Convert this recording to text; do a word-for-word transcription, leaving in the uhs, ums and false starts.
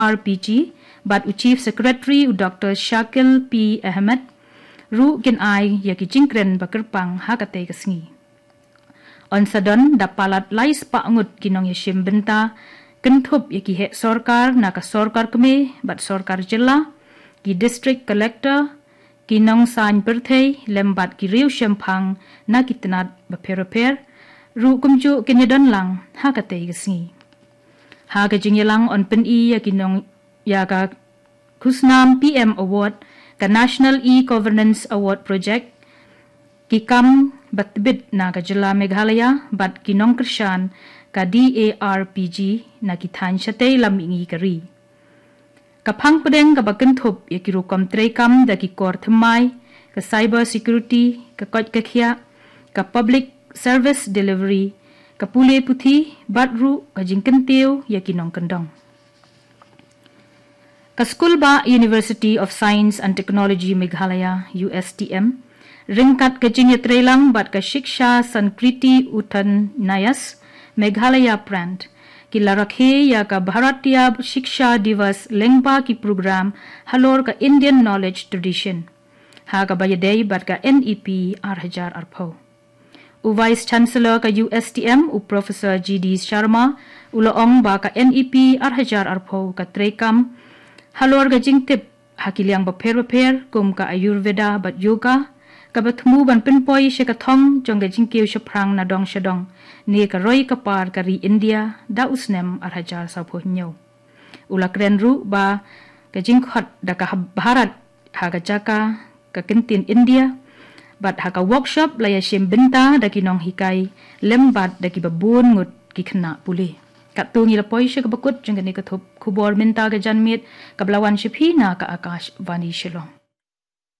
R P G bad u Chief Secretary u Doctor Shakil P Ahmed ruh kin ai ïa ki jingkren ba kyrpang ha katei ka sngi. Yn sa don da palat lai spah ngut ki nongïashim bynta, kynthup ïa ki heh sorkar na ka sorkar kmie bad sorkar jylla, ki district collector, ki nongsaiñ pyrthei lem bad ki riewshemphang na ki tnat bapher bapher ruh kumjuh kin ïadon lang ha katei ka sngi. Ha ka jingïalang yn pyni ïa ki nong ïa ka khusnam P M Award, ka National E-Governance Award Project, ki kam ba tbit na ka jylla Meghalaya bad ki nongkyrshan ka D A R P G na ki thaiñ shatei lam mihngi ka ri. Ka phang pdeng kaba kynthup ïa ki rukom treikam da ki kor thymmai, ka cyber security, ka koit ka khiah, ka public service delivery, ka pule puthi bad ruh ka jingkyntiew ïa ki nongkyndong. Ka Skulbah University of Science and Technology Meghalaya, U S T M, ryngkat ka jingïatreilang bad ka Shiksha Sanskrit Uthan Nyayas Meghalaya Prant, ki la rakhe ïa ka Bharatiya Shiksha Divas lyngba ki program halor ka Indian Knowledge Tradition, ha kaba ïadei bad ka N E P ar hajar arphew. U Vice Chancellor ka U S T M, u Professor G D Sharma, u la ong ba ka N E P ar hajar arphew ka treikam halor ka jingtip ha ki liang bapher bapher kum ka Ayurveda bad Yoga, kaba thmu ban pynpoi sha ka thong jong ka jingkiew shaphrang na dong sha dong ne ka roi ka par ka ri India da u snem ar hajar sawphew hynñiew. U la kren ruh ba ka jingkhot da ka Bharat ha ka jaka ka kyntien India bad ha ka workshop la ïashim bynta da ki nonghikai lem bad da kiba bun ngut ki khynnah pule. Katto ngi la poi sha kaba kut jong kane ka thup khubor mynta ka janmiet, kaba la wan sha phi na ka Akashvani Shillong.